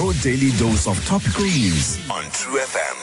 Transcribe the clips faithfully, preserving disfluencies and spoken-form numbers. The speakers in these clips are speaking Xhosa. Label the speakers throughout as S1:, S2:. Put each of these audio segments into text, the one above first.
S1: Your daily dose of topical news on True F M.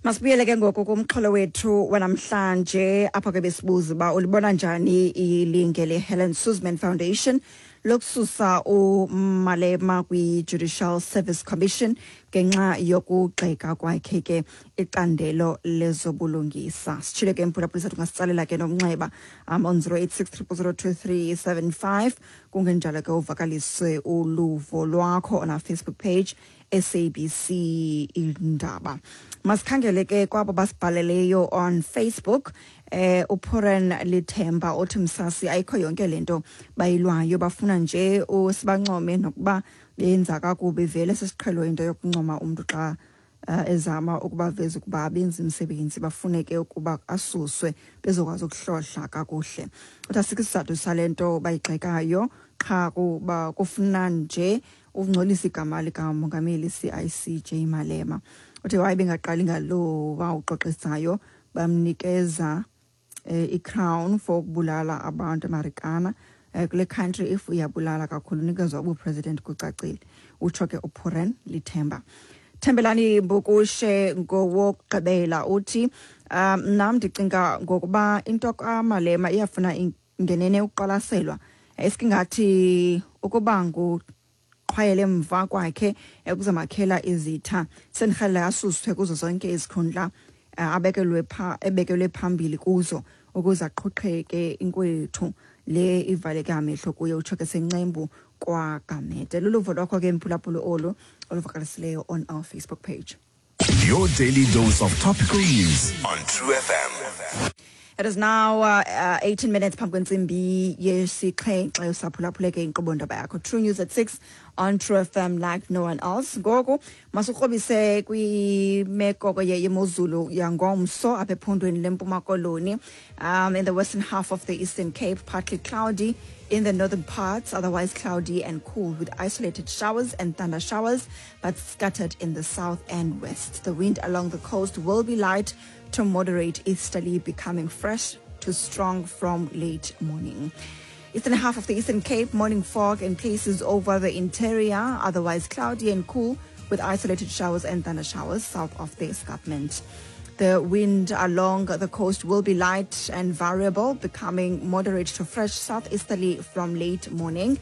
S2: Masibuyele ke ngoku kumxholo wethu wanamhlanje, apha ke besibuza uba ulibona njani ilinge le-Helen Suzman Foundation lokususa uMalema kwi-Judicial Service Commission ngenxa yokugxeka kwakhe ke icandelo lezobulungisa. Sitshile ke, mphulaphuli, sathi ungasitsalela ke nomnxeba um on zero eight six zero zero two three seven five, kungenjalo ke uvakaliswe uluvo lwakho on our Facebook page, S A B C Indaba. Masikhangele ke kwabo basibhaleleyo on Facebook. eh uPoren Lithemba othi, "Msasi, ayikho yonke lento bayilwayo, bafuna nje usibancome nokuba benza kakubi. Vele sisiqhelo into yokuncoma umuntu xa uh, ezama ukubaveza ukuba benza imisebenzi. Bafuneke ukuba asuswe bezokwazi ukuhlohla kakuhle." Uthi asikho isizathu sale nto bayigxekayo, qha kuba kufuna nje ukungcolisa igama likamongameli C I C J Malema. Uthi waye bengaqali ngalo wawuxoxisayo, bamnikeza eh, i-crown for ukubulala abantu eMarikana. eh, kule country if uyabulala kakhulu unikezwa ubupresident, kucacile. Utsho ke uPuren Lithemba. Thembelani Mbukushe ngowokugqibela, uthi, um nam ndicinga ngokuba into kaMalema iyafuna ngenene ukuqwalaselwa, esikingathi ukuba nguqhwayele emva kwakhe ekuzamakhela izitha. Sendirhalela asuswe kuzo zonke izikhundla eh, abekelwe pha ebekelwe phambili kuzo ukuze aqhuqheke inkwethu le ivaleke amehlo kuye. Utsho ke sencembu kwaGamede. Luluvo lwakho ke, mphulaphuli, olu oluvakalisileyo on our Facebook page.
S1: Your daily dose of topical news on True F M.
S2: It is now uh, uh, eighteen minutes phambi kwentsimbi yesixhenxe. Usaphulaphuleke inkqubo ndaba yakho, True News at six on True F M, like no one else. Ngoku masikrobise kwimeko ke yemozulu yangomso apha ephondweni leMpuma Koloni. um, in the western half of the Eastern Cape, partly cloudy in the northern parts, otherwise cloudy and cool with isolated showers and thunder showers, but scattered in the south and west. The wind along the coast will be light to moderate easterly, becoming fresh to strong from late morning. Eastern half of the Eastern Cape, morning fog in places over the interior, otherwise cloudy and cool with isolated showers and thunder showers south of the escarpment. The wind along the coast will be light and variable, becoming moderate to fresh southeasterly from late morning.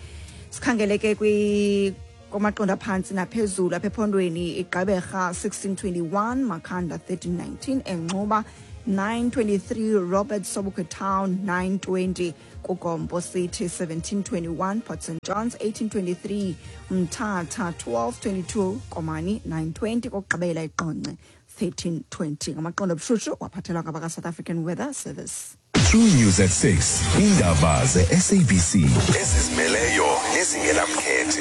S2: Sikhangele ke kwi kumaqondo aphantsi naphezulu apha ephondweni: iGqeberha sixteen twenty-one, Makhanda thirteen nineteen, eNxuba nine twenty-three, Robert Sobukwe Town nine twenty, kuGompo City seventeen twenty-one, Port Saint Johns eighteen twenty-three, Mthatha twelve twenty-two, Komani nine twenty, kokugqibela iQonce thirteen twenty. Ngamaqondo obushushu waphathelwa ngabaka-South African Weather Service.
S1: True News at six. Indaba ze-S A B C ezizimeleyo nezingenamkhethe.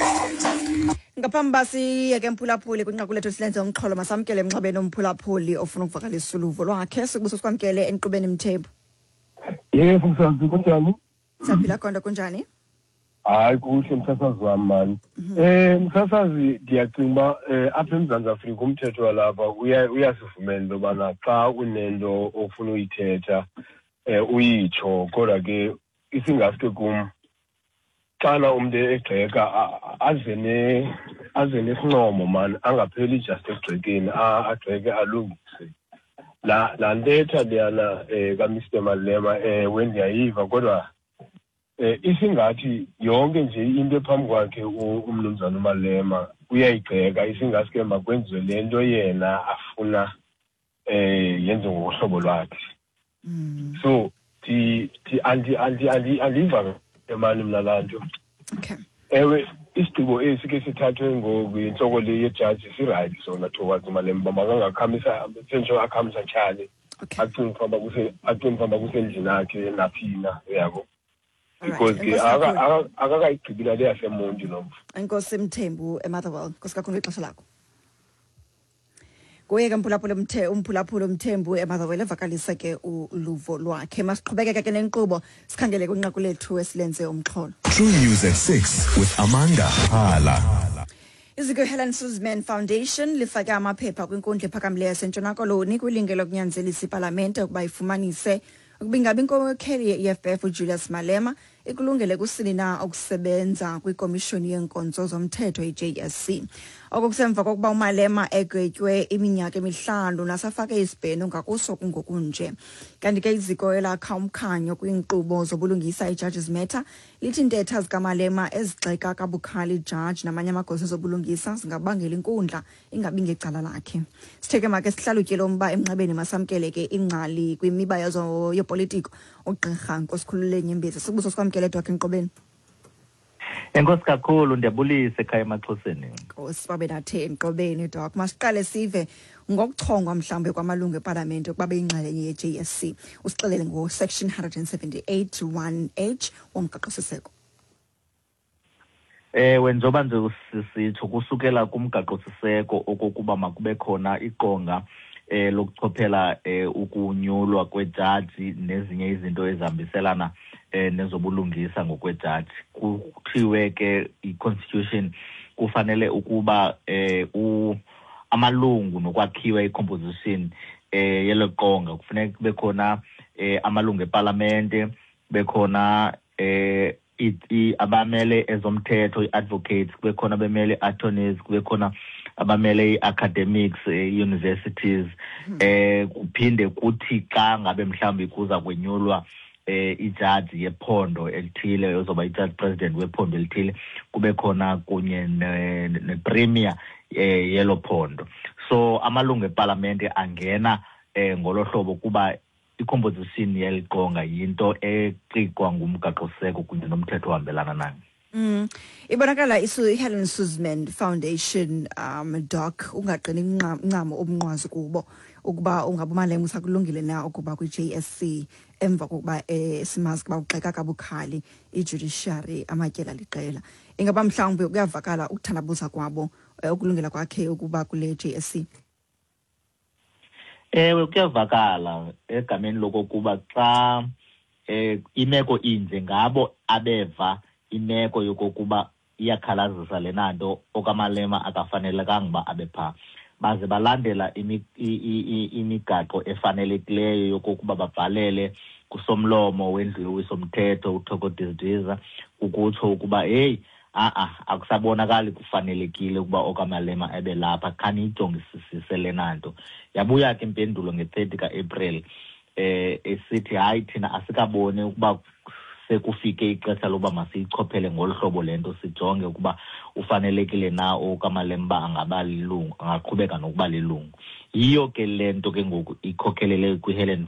S2: Ngaphambi uba siyeke, mphulaphuli, kwinqaku lethu silenze umxholo, masamkele emnxebeni umphulaphuli ofuna ukuvakalisa uluvo lwakhe. Sikubuso sikwamkele enkqubeni, Mthembu.
S3: Yebo, msazi, kunjani?
S2: Siyaphila konto, kunjani?
S3: Hayi, kuhle, msasazi wami mani. Eh msasazi, ndiyacinga uba eh apha eMzantsi Afrika umthetho walapha uya uyasivumela into yobana xa unento ofuna uyithetha eh uyitsho, kodwa ke isingaske kum xana umntu egxeka a- a- aze ne aze nesincomo mani, angapheli just ekugxekeni, a- agxeke alungise. La laa ntetha leyana um kaMr Malema, ewe, ndiyayiva, kodwa eh isingathi yonke nje into ephambi kwakhe u- umnumzana uMalema uyayigxeka, isingaske makwenziwe le nto yena afuna eh yenziwe ngohlobo lwakhe. So ndi ndi andi andi andi andiva mani mna laa nto.
S2: Okay
S3: ewe, isigqibo esi ke sithathwe ngoku yintloko le yejaji si-right sona towards uMalema, uba makangakhamisa, sentsho akhamisa tyhale,
S2: okay
S3: acinge fanuba kuse acinge fanuba kusendlini akhe naphina, uyabo,
S2: Alright.
S3: because ke
S2: Enkosi
S3: aka-
S2: kakhulu.
S3: aka- akakayigqibi nale yaseMonti lo mfo.
S2: Enkosi, Mthembu eMotherwell. Nkosi kakhulu ixesha lakho. Kuye ke mphulaphula umthe umphulaphula uMthembu eMotherwell evakalisa ke uluvo lwakhe. Masiqhubekeke ke nenkqubo, sikhangele kwinqaku lethu esilenze umxholo.
S1: True News at six with Amanda Hala.
S2: Iziko Helen Suzman Foundation lifake amaphepha kwinkundla ephakamileyo yaseNtshona Koloni kwilinge lokunyanzelisa ipalamente ukuba ifumanise ukuba ingabi inkokheli ye-E F F uJulius Malema Ikulungele kusini na ukusebenza kwikomishoni yeenkonzo zomthetho i-J S C. Oko kusemva kokuba uMalema egwetywe iminyaka emihlanu nasafake isibheno ngakuso kungokunje. Kanti ke iziko elakha umkhanyo kwiinkqubo zobulungisa i-Judges Matter lithi intetha zikaMalema ezigxeka kabukhali ijaji namanye amagosa ezobulungisa zingabangela inkundla ingabi ngecala lakhe. Sithe ke make sihlalutye lo mba emnxebeni, masamkele ke ingcali kwimiba yopolitiko, ugqirha Nkosikhulule Nyembezi. Sibuso sikwamkele, Doc, enkqubeni.
S4: Enkosi kakhulu, ndiyabulisa ekhaya emaXhoseni.
S2: Nkosi babe nathe enkqubeni, Doc. Masiqale sive ngokuchongwa mhlawumbe kwamalungu epalamente ukuba beyingxalenye ye-J S C. Usixelele ngo-section one seventy-eight one H womgaqo-siseko.
S4: Ewe, njengoba nje sisitsho kusukela kumgaqo-siseko okokuba makube khona iqonga eh lokuchophela eh ukunyulwa kwejaji nezinye izinto ezihambiselana eh nezobulungisa ngokwejaji, kuthiwe ke i-constitution kufanele ukuba eh u amalungu nokwakhiwa i-composition eh yelo qonga kufuneka kube khona eh amalungu epalamente, bekhona eh abamele ezomthetho, i-advocates, kube khona abamele attorneys, kube khona abamele i-academics, universities, eh kuphinde kuthi xa ngabe mhlawumbi kuza kwenyulwa eh ijaji yephondo elithile, ozoba ijaji president wephondo elithile, kube khona kunye ne-premier eh yelo phondo. So amalungu epalamente angena eh ngolo hlobo kuba i-composition yeli qonga yinto eqikwa ngumgaqo-siseko kunye nomthetho ohambelana nayo.
S2: Mm. Ibonakala isu iHelen Suzman Foundation, um Doc, ungaqini ncamo umnqwazi kubo ukuba ungabe uMalema usakulungile na ukuba kwi-J S C emva kokuba eh, simazi kuba ugxeka kabukhali i-judiciary amatyela liqela. Ingaba mhlawumbe kuyavakala ukuthandabuza kwabo eh, ukulungela kwakhe ukuba kule J S C?
S4: Ewe, kuyavakala egameni lokokuba xa eh imeko inje, ngabo abeva imeko yokokuba iyakhalazisa lena nto, okaMalema akafanelekanga uba abe phaa, baze balandela imigaqo efanelekileyo yokokuba babhalele kusomlomo wendlu yowiso-mthetho uThoko Didiza ukutsho ukuba heyi, a-a, akusabonakali kufanelekile ukuba okaMalema ebe lapha, khaniyijongisisise lena nto. Yabuya ke impendulo nge-thirty kaApril eh esithi hayi, thina asikaboni ukuba sekufike ixesha loba masiyichophele ngolu hlobo le nto, sijonge ukuba ufanelekile na okaMalema uba angaba lilungu, angaqhubeka nokuba lilungu. Yiyo ke le nto ke ngoku ikhokhelele kwiHelen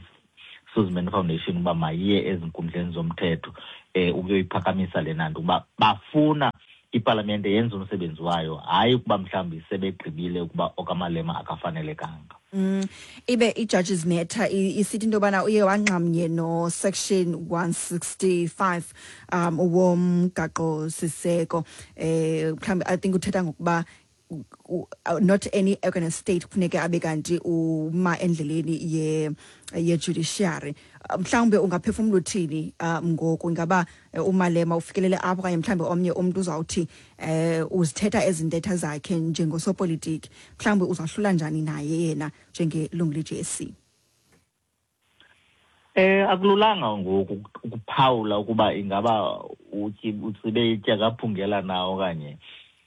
S4: Suzman Foundation uba mayiye ezinkundleni zomthetho eh ukuyoyiphakamisa lena nto, ukuba bafuna ipalamente yenze umsebenzi wayo, hayi ukuba mhlawumbi sebegqibile ukuba okaMalema akafanelekanga.
S2: Mm, ibe i-Judges Matter isithi into yobana uye wanxamnye no-section one sixty-five um womgaqo siseko, eh mhlawumbi I think uthetha ngokuba not any organ state kufuneke abe kanti uma endleleni ye ye-judiciary. Mhlawumbe ungaphefumula uthini um ngoku? Ingaba uMalema ufikelele apho, okanye mhlawumbe omnye umntu uzawuthi eh uzithetha ezi ntetha zakhe njengosopolitiki? Mhlawumbe uzahlula njani naye yena njengelungu le-J S C?
S4: Eh akululanga ngoku ukuphawula ukuba ingaba utsibe itya kaphungela na okanye,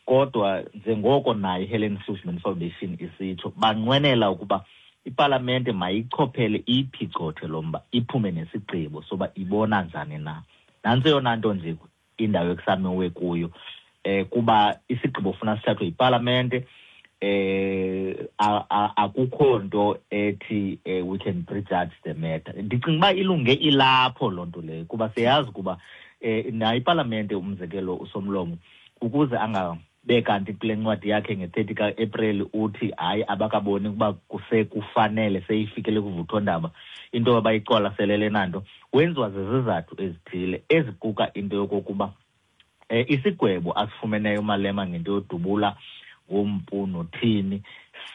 S4: kodwa njengoko nayo iHelen Suzman Foundation isitsho, banqwenela ukuba ipalamente mayichophele, iyiphicothe lo mba, iphume nesigqibo soba ibona njani na. Nantsi eyona nto nje indawo ekusamiwe kuyo, eh kuba isigqibo funa sithathwe yipalamente. eh akukho nto ethi we can prejudge the matter. Ndicinga uba ilunge ilapho loo nto leyo, kuba siyazi ukuba eh nayo ipalamente, umzekelo usomlomo, ukuze angabe kanti kule ncwadi yakhe nge-thirty kaApril uthi hayi, abakaboni ukuba kusekufanele seyifikele kuvuthondaba into abayiqwalaselele nanto, wenziwa zizizathu ezithile eziquka into yokokuba eh isigwebo asifumeneyo uMalema ngento yodubula ngompu nothini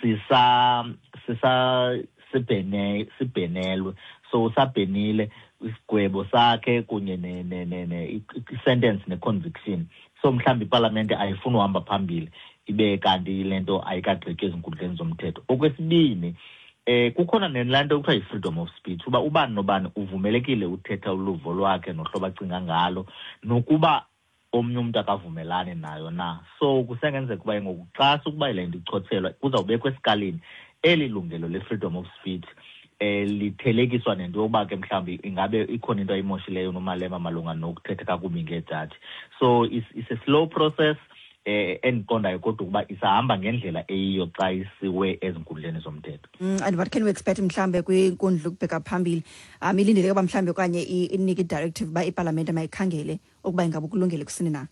S4: sisa sisa sibhene sibhenelwe, so usabhenile isigwebo sakhe kunye ne ne ne i-sentence ne-conviction. So mhlawumbi ipalamente ayifuni uhamba phambili ibe kanti le nto ayikagqitywa ezinkundleni zomthetho. Okwesibini, Eh kukhona nelaa nto kuthiwa yi-freedom of speech, uba ubani nobani uvumelekile uthetha uluvo lwakhe nohlobo acinga ngalo, nokuba omnye umntu akavumelani nayo na. So kusengenzeka uba ngoku xa sukuba le nto ichotshelwa kuzawubekwa esikalini eli lungelo le-freedom of speech eh lithelekiswa nento yokuba ke mhlawumbi ingabe ikhona into ayimoshileyo uNomalema malunga nokuthetha kakubi ngeejaji. So it's, it's a slow process eh endiqondayo kodwa ukuba isahamba ngendlela eyiyo xa isiwe ezinkundleni zomthetho.
S2: Mm, and what can we expect mhlambe kwinkundla ukubheka phambili? Um ilindeleke uba mhlambe okanye inike i-directive uba ipalamente mayikhangele ukuba ingaba ukulungele kusini na?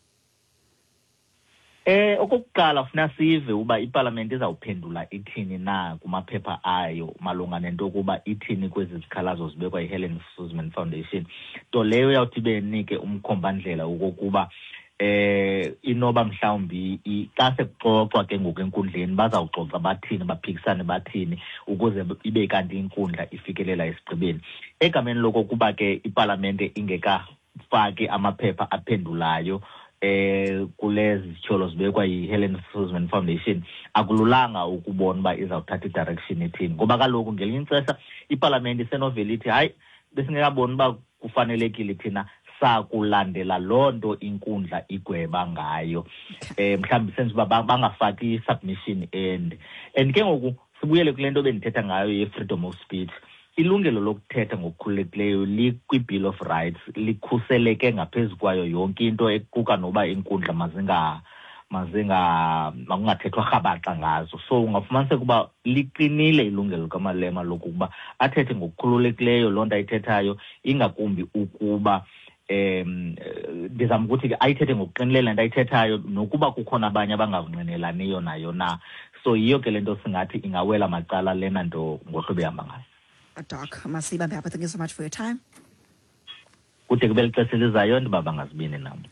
S4: Eh okokuqala funa sive uba ipalamente izawuphendula ithini na kumaphepha ayo malunga nento yokuba ithini kwezi zikhalazo zibekwa yiHelen Suzman Foundation. Nto leyo yawuthi benike umkhombandlela wokokuba eh inoba mhlawumbi xa sekuxoxwa ke ngoku enkundleni bazawuxoxa bathini, baphikisane bathini ukuze ibe kanti inkundla ifikelela esigqibeni. Egameni lokokuba ke ipalamente ingekafaki amaphepha aphendulayo eh kulezi zityholo zibekwa yiHelen Suzman Foundation, akululanga ukubona uba izawuthatha i-direction ethini, ngoba kaloku ngelinye ixesha ipalamente isenovela ithi hayi besingekaboni uba kufanelekile thina sakulandela loo nto inkundla igweba ngayo. Eh mhlawumbi senze uba bangafaki i-submission end. And ke ngoku sibuyele kule nto bendithetha ngayo ye-freedom of speech. Ilungelo lokuthetha ngokukhululekileyo likwi-Bill of Rights, likhuseleke ngaphezu kwayo yonke into equka noba inkundla mazinga mazinga makungathethwa rhabaxa ngazo. So ungafumaniseka uba liqinile ilungelo likaMalema lokuba athethe ngokukhululekileyo loo nto ayithethayo, ingakumbi ukuba um ndizama ukuthi ke ayithethe ngokuqinileyo le nto ayithethayo nokuba kukhona abanye abangavungqinelaniyo nayo na. So yiyo ke le nto singathi ingawela macala lena nto ngohlobo ehamba ngayo.
S2: Doc, masibambe apha. Thank you so much for your time.
S4: Kude kube lixesha elizayo ndibaba ngazibini nam.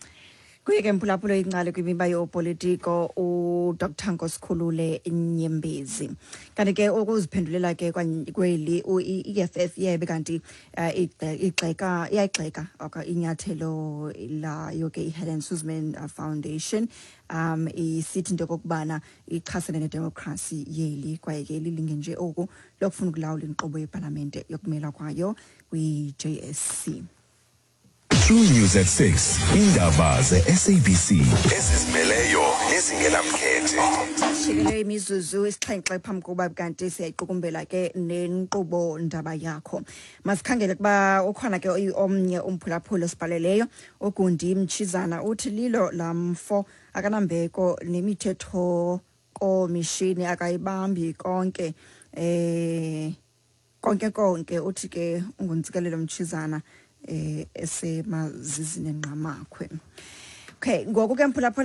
S2: Kuye ke mphulaphula ingcali kwimiba yopolitiko uDr Nkosikhulule Nyembezi. Kanti ke ukuziphendulela ke kweli i-E F F yebe kanti igxeka iyayigxeka inyathelo layo ke iHelen Suzman Foundation um isithi into yokokubana ichasene nedemokhrasi yeli kwaye ke lilinge nje oku lokufuna ukulawula inkqubo yepalamente yokumela kwayo kwi-J S C.
S1: True News at six, indaba ze-S A B C ezizimeleyo nezingenamkhethe.
S2: Shikele imizuzu isixhenxe phambi kokuba kanti siyayiqukumbela ke nenkqubo ndaba yakho. Masikhangele kuba ukhona ke omnye umphulaphuli osibhaleleyo uGundi Mtshizana uthi lilo lamfo akanambeko nemithetho komishini akayibambi konke eh konke konke uthi ke unguntsikelelo Mtshizana eh esemazizini enqamakhwe. Okay, ngoku ke mphulaphula